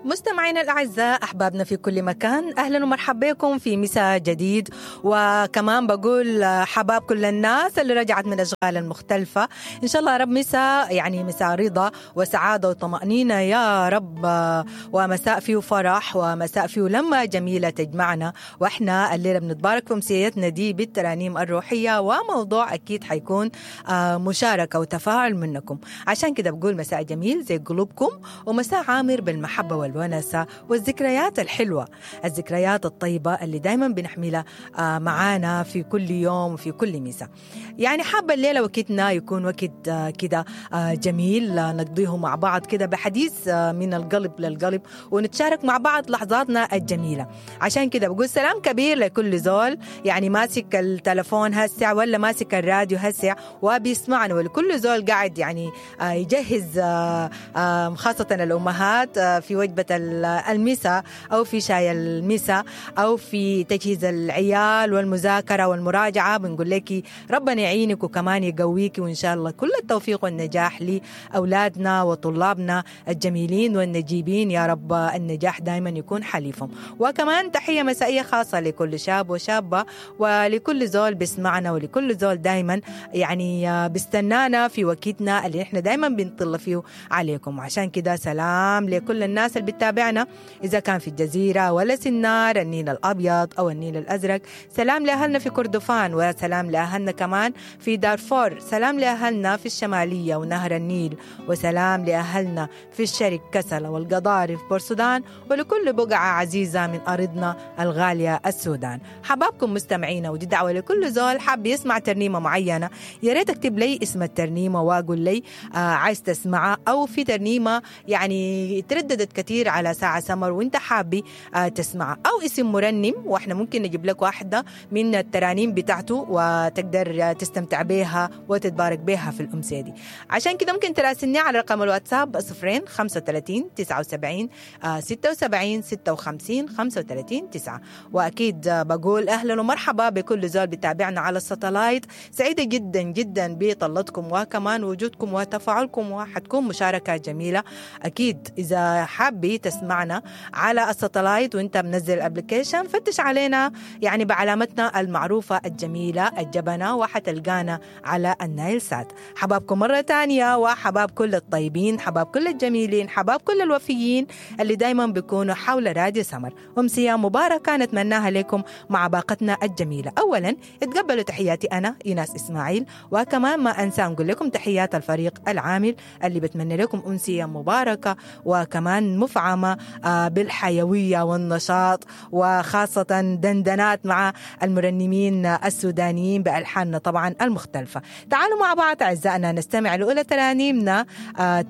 مستمعينا الأعزاء، أحبابنا في كل مكان، أهلا ومرحبا بكم في مساء جديد. وكمان بقول حباب كل الناس اللي رجعت من الأشغال المختلفة. إن شاء الله يا رب مساء، يعني مساء رضا وسعادة وطمأنينة يا رب، ومساء فيه فرح ومساء فيه لمة جميلة تجمعنا. وإحنا الليلة بنتبارك في أمسيتنا دي بالترانيم الروحية، وموضوع أكيد حيكون مشاركة وتفاعل منكم. عشان كده بقول مساء جميل زي قلوبكم، ومساء عامر بالمحبة والونسة والذكريات الحلوة، الذكريات الطيبة اللي دايما بنحملها معانا في كل يوم وفي كل مساء. يعني حابة الليلة وقتنا يكون وقت كده جميل نقضيه مع بعض كده بحديث من القلب للقلب، ونتشارك مع بعض لحظاتنا الجميلة. عشان كده بقول سلام كبير لكل زول يعني ماسك التلفون هسه ولا ماسك الراديو هسه وبيسمعنا، ولكل زول قاعد يعني يجهز، خاصة الأمهات في وجبة المساء أو في شاي المساء أو في تجهيز العيال والمذاكرة والمراجعة. بنقول لك ربنا يعينك وكمان يقويك، وإن شاء الله كل التوفيق والنجاح لأولادنا وطلابنا الجميلين والنجيبين يا رب، النجاح دائما يكون حليفهم. وكمان تحية مسائية خاصة لكل شاب وشابة ولكل زول بيسمعنا ولكل زول دائما يعني بيستنانا في وقتنا اللي احنا دائما بنطل فيه عليكم. عشان كده سلام لكل الناس اللي بتتابعنا إذا كان في الجزيرة ولا سنار، النيل الأبيض أو النيل الأزرق. سلام لأهلنا في كردفان، وسلام لأهلنا كمان في دارفور، سلام لأهلنا في الشمالية ونهر النيل، وسلام لأهلنا في الشرق كسلة والقضارف بورسودان، ولكل بقعة عزيزة من أرضنا الغالية السودان. حبابكم مستمعينا، ودي دعوة لكل زول حاب يسمع ترنيمة معينة، يا ريت اكتب لي اسم الترنيمة واقول لي عايز تسمعها، أو في ترنيمة يعني ترددت كثير على ساعة سمر وانت حابي تسمعها، أو اسم مرنم واحنا ممكن نجيب لك واحدة من الترانيم بتاعته وتقدر تستمتع بيها وتتبارك بيها في الأمسية دي. عشان كده ممكن تراسلني على رقم الواتساب 0 35 79 76 56 35 9. وأكيد بقول أهلا ومرحبا بكل زول بتابعنا على الساتلايت. سعيدة جدا جدا بطلتكم وكمان وجودكم وتفاعلكم، وحتكون مشاركة جميلة. أكيد إذا حابي تسمعنا على الساتلايت وانت منزل ال application، فتش علينا يعني بعلامتنا المعروفة الجميلة الجبنة، وحتلقانا على النايل سات. حبابكم مرة تانية، وحباب كل الطيبين، حباب كل الجميلين، حباب كل الوفيين اللي دايما بيكونوا حول راديو سمر. أمسية مباركة نتمناها لكم مع باقتنا الجميلة. أولا اتقبلوا تحياتي أنا إيناس إسماعيل، وكمان ما أنسى نقول لكم تحيات الفريق العامل اللي بتمنى لكم أمسية مباركة وكمان مفعمة بالحيوية والنشاط، وخاصة دندنات مع المرنمين السودانيين بألحاننا طبعا المختلفة. تعالوا مع بعض أعزائنا نستمع لأولى ترانيمنا،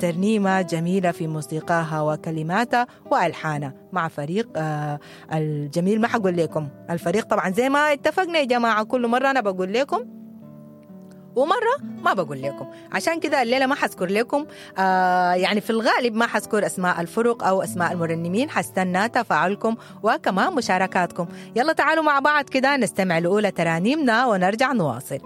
ترنيمة جميلة في موسيقاها وكلماتها وألحانها مع فريق الجميل. ما حقول لكم الفريق طبعا زي ما اتفقنا يا جماعة، كل مرة أنا بقول لكم ومرة ما بقول لكم، عشان كده الليلة ما حذكر لكم يعني في الغالب ما حذكر أسماء الفرق أو أسماء المرنمين. حستنى تفاعلكم وكمان مشاركاتكم. يلا تعالوا مع بعض كده نستمع لأولى ترانيمنا ونرجع نواصل.